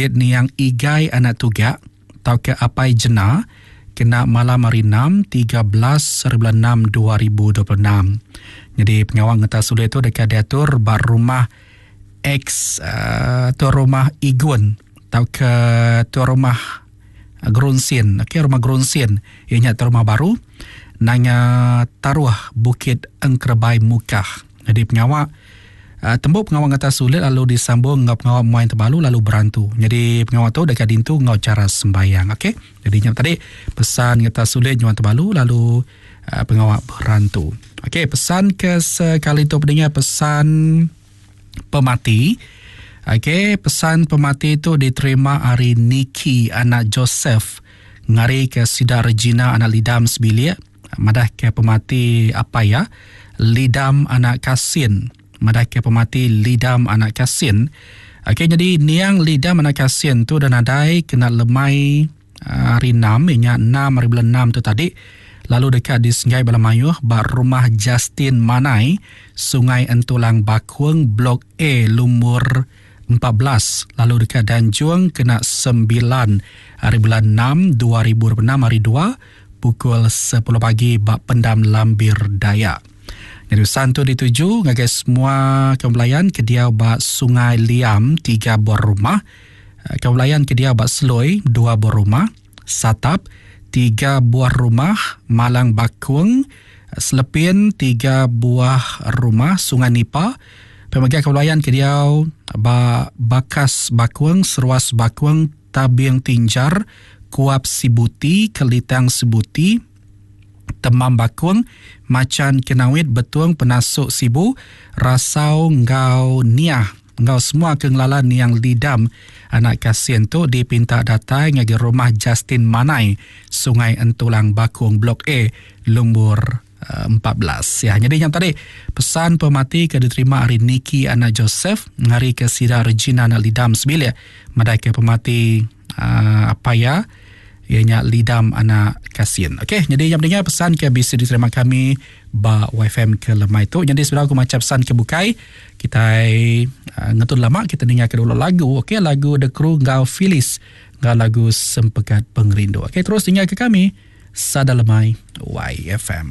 Ulit niang Igai anak Tugak tauka Apai Jena kena malam hari Enam, 13 hari bulan Enam 2026. Nyadi pengawa ngetas ulit tu deka diatur ba rumah ex uh, tuan rumah Igun tauka tuan rumah Gerunsin. Okey, rumah Gerunsin iya nya tuan rumah baru nanga Taruh Bukit Engkerebai Mukah. Nyadi pengawa uh, tembu pengawa ngetas ulit lalu disambung enggau pengawa muai tebalu lalu berantu. Nyadi pengawa tu deka dintu enggau chara sembayang. Okey. Jadi nya tadi pesan ngetas ulit nyuan tebalu lalu uh, pengawa berantu. Okey, pesan ke sekali tu pendengar pesan pemati. Okey, pesan pemati tu diterima ari Nikki anak Joseph ngari ke sida Regina anak Lidam sebilik madah ke pemati apai iya Lidam anak Kasin madah ke pemati Lidam anak Kasin. Okey, jadi niang Lidam anak Kasin tu dah nadai kena lemai hari 6 inya 6 hari bulan 6 tu tadi lalu deka disenggai bala mayuh ba rumah Justin Manai, Sungai Entulang Bakung, Blok A, lumur 14 lalu deka danjung kena 9 hari bulan 6 2026 hari 2 pukul 10 pagi ba Pendam Lambir Dayak. Nyadi pesan tu dituju ngagai semua kaum belayan ke diau ba Sungai Liam 3 buah rumah, kaum belayan ke diau ba Seloi 2 buah rumah, Satap 3 buah rumah, Malang Bakung, Selepin 3 buah rumah, Sungai Nipa, pemega kaum belayan ke diau ba Bakas Bakung, Seruas Bakung, Tabing Tinjar, Kuap Sibuti, Kelitang Sibuti, Temam Bakung, Machan Kenawit, Betung, Penasuk Sibu, Rasau enggau Niah enggau semua ke ngelala niang Lidam anak Kasin tu dipinta datai ngagai rumah Justin Manai, Sungai Entulang Bakung Blok A, lumur 14. Ya, jadi yang tadi pesan pemati ke diterima ari Nikki anak Joseph ngari ke sida Regina anak Lidam sebilik madai ke pemati uh, apa ya iya nya Lidam anak Kasin. Okey, jadi yang pentingnya pesan ke bisi diterima kami ba YFM ke lemai tu. Jadi sebelum aku maca pesan ke bukai, kita uh, ngetun lama kita dengar ke dulu lagu. Okey, lagu The Crew enggau Phyllis enggau lagu Sempekat Pengerindu. Okey, terus tinggal ke kami Sada Lemai YFM.